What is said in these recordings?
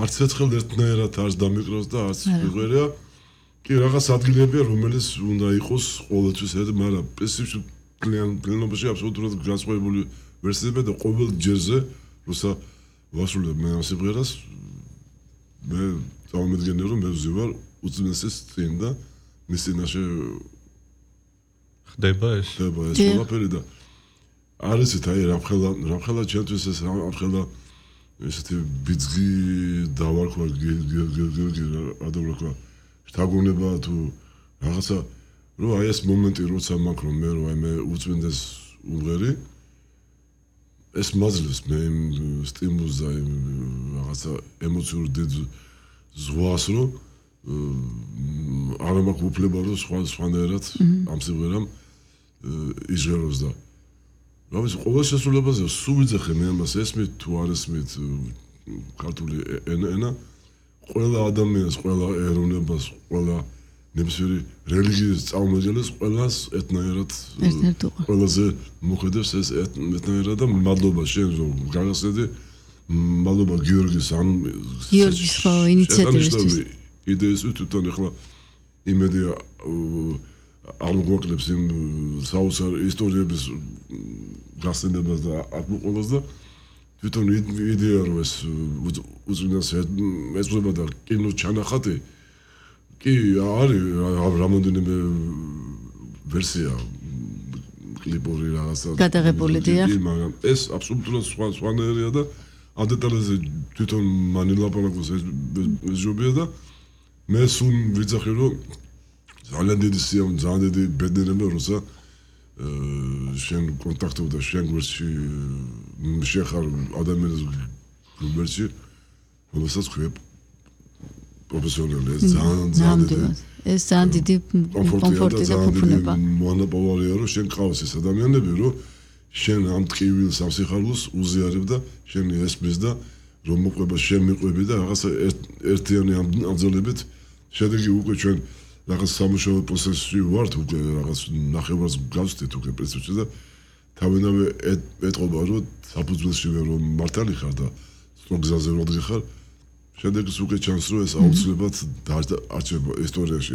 არც ერთხელ ერთნაირად არც დამიკრავს და არც მიღერია. კი რაღაც ადგილებია, რომელიც უნდა იყოს ყოველთვის ერთ, მაგრამ პრინციპში კლიანობაში აბსოლუტურად განსხვავებული ვერსიებია და ყოველ ჯერზე, როცა ვასრულებ მე ამ სიმღერას, მე წავამედგენია, რომ მე ვზივარ უძმესის წინ და მის წინაშე ხდება ეს ყველაფერი და არის აი რამხელა ჩემთვის ეს რამხელა ესეთი ბიძგი დავარქვა ადავრაქვა შთაგონება თუ რაღაცა რომ აი ეს მომენტი როცა მაქვს რომ მე რომ აი მე უწმინდეს უმღერი ეს მაძლევს მე სტიმულს და რაღაცა ემოციურ ზღვას რომ არ მაქვს უფლება რომ სხვანაირად ამ სიმღერამ იჟღეროს და რამის ყოველ შესრულებაზე სულ ვიძახე მე ამას ესმით თუ არ ესმით ქართული ენა ყველა ადამიანს, ყველა ეროვნებას, ყველა ნებისმიერი რელიგიის წარმომადგენელს ყველას ერთნაირად ყველაზე მოხდებს ეს ერთნაირად და მადლობა შენ რომ გაგასწრედი მადლობა გიორგის ამ გიორგის ხო ინიციატივისთვის იდეისთვის თვითონ ახლა იმედი არ მოგვაკლებს იმ საოცარ ისტორიების გასცემებას და აკმაყოფილებას და თვითონ იდეა რომ ეს უწმინდეს ეძღვება და კინოს ჩანახატი კი არის რამოდენიმე ვერსია კლიპური რაღაცა გადაღებული დიახ მაგრამ ეს აბსოლუტურად სხვანაირია და ამ დეტალებზე თვითონ მან ილაპარაკოს ეს ჯობია და მე სულ ვიძახი რომ ძალიან დიდი სიამოვნე ძალიან დიდი ბედნიერება როცა შენ კონტაქტობ და შენ გვერდში შეხარ ადამიანის გვერდში რომელსაც ხვიებ პროფესიონალი ეს ძალიან დიდი კომფორტი და ფუფუნება მონოპოლია რომ შენ ყავს ეს ადამიანები რომ შენ ამ ტკივილს ამ სიხარულს უზიარებ და შენ ესმის და რომ მოყვება შენ მიყვები და რაღაცა ერთიანი ამძოლებით შედეგი უკვე ჩვენ რაღაც სამუშაო პროცესში ვართ უკვე რაღაც ნახევარს გავსდით უკვე პრინციპში და თავენავე ეტყობა რომ საფუძველში ვერ რომ მართალი ხარ და სწორ გზაზე რომ გიხარ შედეგს უკვე ჩანს რომ ეს აუცილებლად არჩება ისტორიაში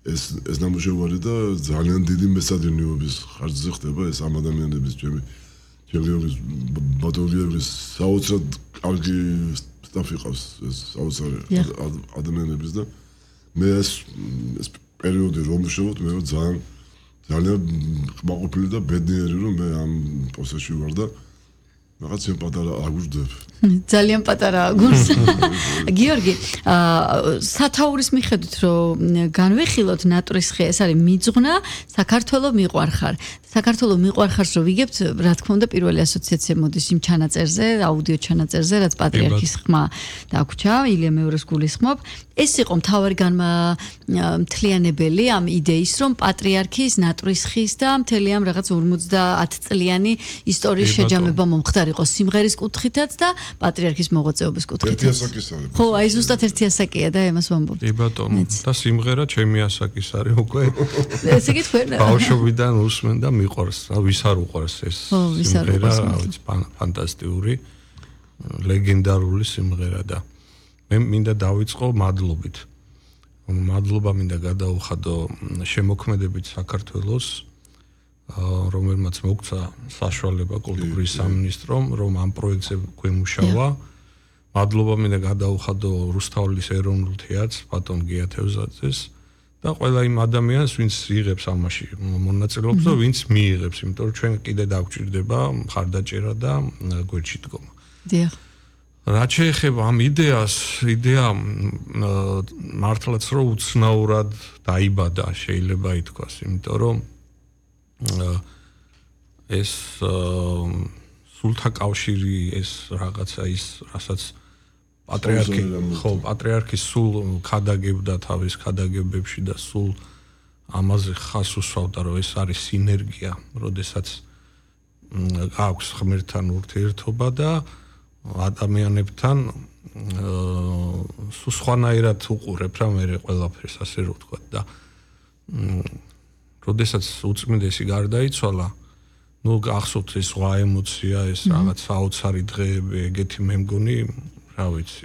ეს ნამუშევარი და ძალიან დიდი მეცადინეობის ხარჯზე ხდება ეს ამ ადამიანების ჩემი ბატონგიების საოცრად კარგი სტაფი ყავს ეს საოცარი ადამიანების და მე ეს პერიოდი რომ ვშევოთ მე ძალიან კმაყოფილი და ბედნიერი რომ მე ამ პროცესში ვარ და რაღაც იმ პატარა აგურდებ ძალიან პატარა აგურს გიორგი სათაურის მიხედვით რომ განვიხილოთ ნატურის ხე ეს არის მიძღვნა საქართველოს მიყვარხარ საქართველოს მიყვარხარს რომ ვიგებთ რა თქმა უნდა პირველი ასოციაცია მოდის იმ ჩანაწერზე აუდიო ჩანაწერზე რაც პატრიარქის ხმა დაგვრჩა ილია მეორის გულისხმობ ეს იყო მთავარი განმთლიანებელი ამ იდეის რომ პატრიარქის ნატურის ხის და მთელი ამ რაღაც 50 წლიანი ისტორიის შეჯამება მომხდარიყო სიმღერის კუთხითაც და პატრიარქის მოღვაწეობის კუთხითაც. ხო, აი ზუსტად ერთი ასაკია და ამას ვამბობ. კი ბატონო, და სიმღერა ჩემი ასაკის არის უკვე. ესე გითხრა. ბავშვობიდან უსმენ და მიყვარს, ვის არ უყვარს ეს სიმღერა, ვიცი, ფანტასტიკური, ლეგენდარული სიმღერა და მე მინდა დავიწყო მადლობით. მადლობა მინდა გადაუხადო შემოქმედებით საქართველოს რომელმაც მოგცა საშუალება კულტურის სამინისტრომ რომ ამ პროექტზე გვემუშავა. მადლობა მინდა გადაუხადო რუსთაველის ეროვნულ თეატრს, ბატონ გია თევზაძეს და ყველა იმ ადამიანს, ვინც იღებს ამაში მონაწილეობს და ვინც მიიღებს, იმიტომ რომ ჩვენ კიდე დაგვჭირდება მხარდაჭერა და გვერდში დგომა. დიახ. რაც შეეხება ამ იდეას, იდეა მართლაც რომ უცნაურად დაიბადა, შეიძლება ითქვას, იმიტომ რომ ეს სულთა კავშირი ეს რაღაცა ის რასაც პატრიარქი სულ ქადაგებდა თავის ქადაგებებში და სულ ამაზე ხას უსვავდა რომ ეს არის სინერგია, როდესაც აქვს ღმერთთან ურთიერთობა და ადამიანებთან სულ სხვანაირად უყურებ რა მე ყველაფერს ასე რომ ვთქვა და როდესაც უწმინდესი გარდაიცვალა, ნუ გახსოვთ ეს სხვა ემოცია, ეს რაღაც საოცარი დღეები, ეგეთი მე მგონი, რა ვიცი,